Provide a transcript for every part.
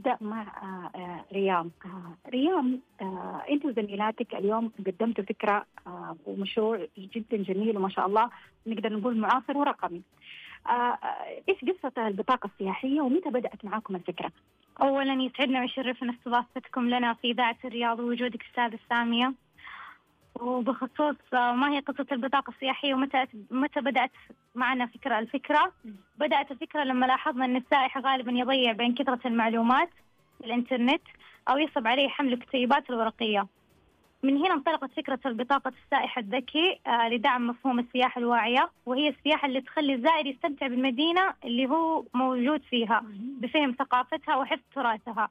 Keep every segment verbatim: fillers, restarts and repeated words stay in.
نبدأ مع آه، آه، ريام. آه، ريام، آه، أنت وزميلاتك اليوم قدمتوا فكرة آه، ومشروع جدا جميل وما شاء الله، نقدر نقول معاصر ورقمي. آه، آه، إيش قصة البطاقة السياحية ومتى بدأت معاكم الفكرة؟ أولا يسعدنا ويشرفنا استضافتكم لنا في إذاعة الرياض ووجودك أستاذة سامية. وبخصوص ما هي قصة البطاقة السياحية ومتى متى بدأت معنا فكرة الفكرة بدأت الفكرة لما لاحظنا أن السائح غالبا يضيع بين كثرة المعلومات في الإنترنت أو يصعب عليه حمل الكتيبات الورقية. من هنا انطلقت فكرة البطاقة السائح الذكي آه لدعم مفهوم السياحة الواعية، وهي السياحة اللي تخلي الزائر يستمتع بالمدينة اللي هو موجود فيها بفهم ثقافتها وحفظ تراثها.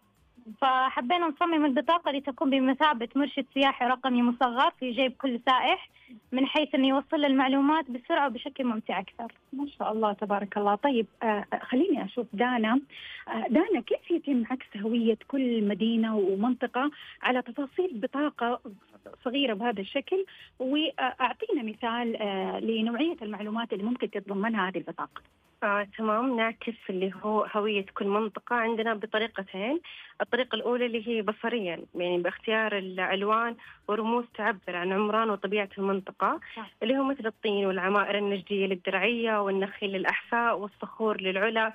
فحبينا نصمم البطاقة لتكون بمثابة مرشد سياحي رقمي مصغر في جيب كل سائح، من حيث أنه يوصل المعلومات بسرعة وبشكل ممتع أكثر. ما شاء الله تبارك الله. طيب آه خليني أشوف دانا. آه دانا، كيف يتم عكس هوية كل مدينة ومنطقة على تفاصيل بطاقة صغيرة بهذا الشكل؟ وأعطينا مثال آه لنوعية المعلومات اللي ممكن تتضمنها هذه البطاقة. آه، تمام. نعكس اللي هو هوية كل منطقة عندنا بطريقتين. الطريقة الأولى اللي هي بصريا، يعني باختيار الألوان ورموز تعبر عن عمران وطبيعة المنطقة، اللي هو مثل الطين والعمائر النجدية للدرعية والنخيل للأحساء والصخور للعلا.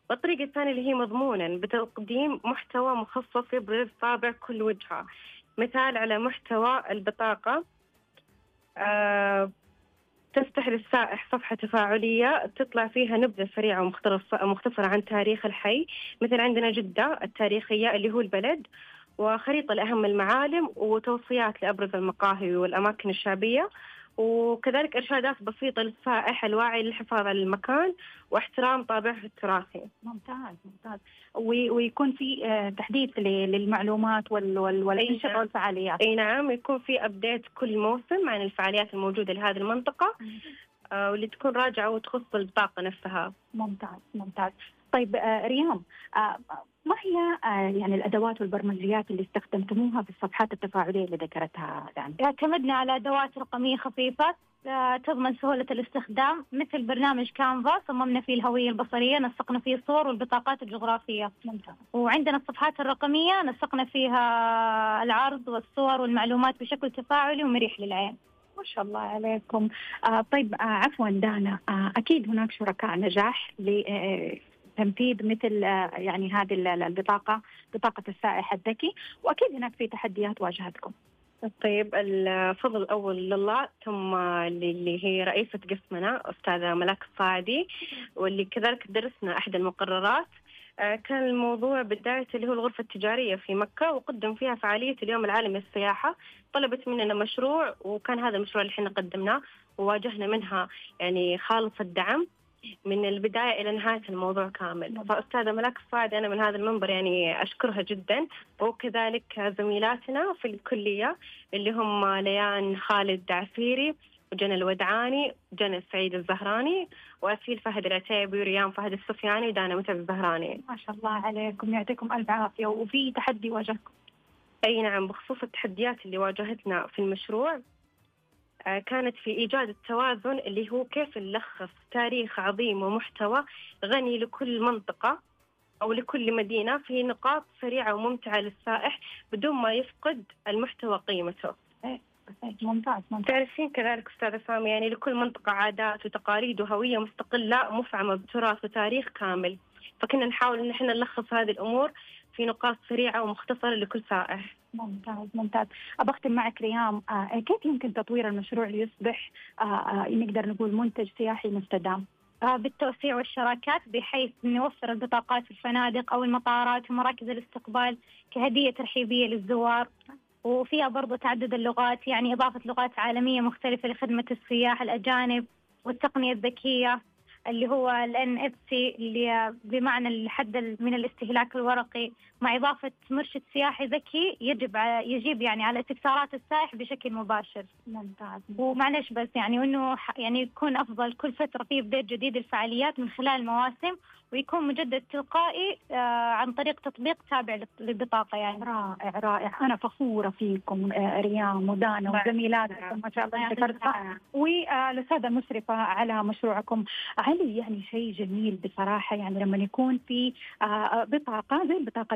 والطريقة الثانية اللي هي مضمونا بتقديم محتوى مخصص يبرز طابع كل وجهة. مثال على محتوى البطاقة، آه تفتح للسائح صفحة تفاعلية تطلع فيها نبذة سريعة ومختصرة عن تاريخ الحي، مثل عندنا جدة التاريخية اللي هو البلد، وخريطة لأهم المعالم وتوصيات لأبرز المقاهي والأماكن الشعبية، وكذلك إرشادات بسيطة للسائح الواعي للحفاظ على المكان واحترام طابعه التراثي. ممتاز ممتاز. ويكون في تحديث للمعلومات والأنشطة والفعاليات. أي نعم، يكون في أبديت كل موسم عن الفعاليات الموجودة لهذه المنطقة آه واللي تكون راجعة وتخص البطاقة نفسها. ممتاز ممتاز. طيب آه ريام، آه ما هي آه يعني الأدوات والبرمجيات اللي استخدمتموها في الصفحات التفاعلية اللي ذكرتها دان؟ اعتمدنا على أدوات رقمية خفيفة آه تضمن سهولة الاستخدام، مثل برنامج كانفا صممنا فيه الهوية البصرية، نسقنا فيه الصور والبطاقات الجغرافية. ممتاز. وعندنا الصفحات الرقمية نسقنا فيها العرض والصور والمعلومات بشكل تفاعلي ومريح للعين. ما شاء الله عليكم. آه طيب آه عفوا دانا، آه أكيد هناك شركاء نجاح لتنفيذ مثل آه يعني هذه البطاقة، بطاقة السائح الذكي، وأكيد هناك في تحديات واجهتكم. طيب، الفضل الأول لله، ثم اللي هي رئيسة قسمنا أستاذة ملاك الصاعدي، واللي كذلك درسنا أحد المقررات. كان الموضوع بداية اللي هو الغرفة التجارية في مكة، وقدم فيها فعالية اليوم العالمي للسياحة. طلبت مننا مشروع، وكان هذا المشروع اللي احنا قدمناه، وواجهنا منها يعني خالص الدعم من البداية إلى نهاية الموضوع كامل. فأستاذة ملاك الصاعدي أنا من هذا المنبر يعني أشكرها جدا، وكذلك زميلاتنا في الكلية اللي هم ليان خالد عفيري وجنى الودعاني، جنى السعيد الزهراني، وأسيل فهد العتيبي، وريان فهد السفياني، ودانا متعب الزهراني. ما شاء الله عليكم، يعطيكم ألف عافية. وفي تحدي واجهكم؟ أي نعم، بخصوص التحديات اللي واجهتنا في المشروع، كانت في إيجاد التوازن، اللي هو كيف نلخص تاريخ عظيم ومحتوى غني لكل منطقة أو لكل مدينة في نقاط سريعة وممتعة للسائح بدون ما يفقد المحتوى قيمته. ممتاز ممتاز. تعرفين كذلك أستاذة سامي، يعني لكل منطقة عادات وتقاليد وهوية مستقلة مفعمة بتراث وتاريخ كامل، فكنا نحاول إن احنا نلخص هذه الأمور في نقاط سريعة ومختصرة لكل سائح. ممتاز ممتاز. أبختم معك ريام، آه كيف يمكن تطوير المشروع ليصبح آه آه نقدر نقول منتج سياحي مستدام؟ آه بالتوسيع والشراكات، بحيث نوفر البطاقات في الفنادق أو المطارات ومراكز الاستقبال كهدية ترحيبية للزوار، وفيها برضو تعدد اللغات، يعني إضافة لغات عالمية مختلفة لخدمة السياح الأجانب، والتقنية الذكية اللي هو ال إن إف سي اللي بمعنى الحد من الاستهلاك الورقي، مع إضافة مرشد سياحي ذكي يجب يجيب يعني على استفسارات السائح بشكل مباشر. ممتاز. ومعلش بس يعني إنه يعني يكون أفضل كل فترة فيه بداية جديد الفعاليات من خلال المواسم، ويكون مجدد تلقائي آه عن طريق تطبيق تابع للبطاقة. يعني رائع رائع. أنا فخورة فيكم آه ريام ودانا وزميلاتكم ما شاء الله ذكرتها، والأستاذة المشرفة على مشروعكم. علي، يعني شيء جميل بصراحة، يعني لما يكون في آه بطاقة زي البطاقة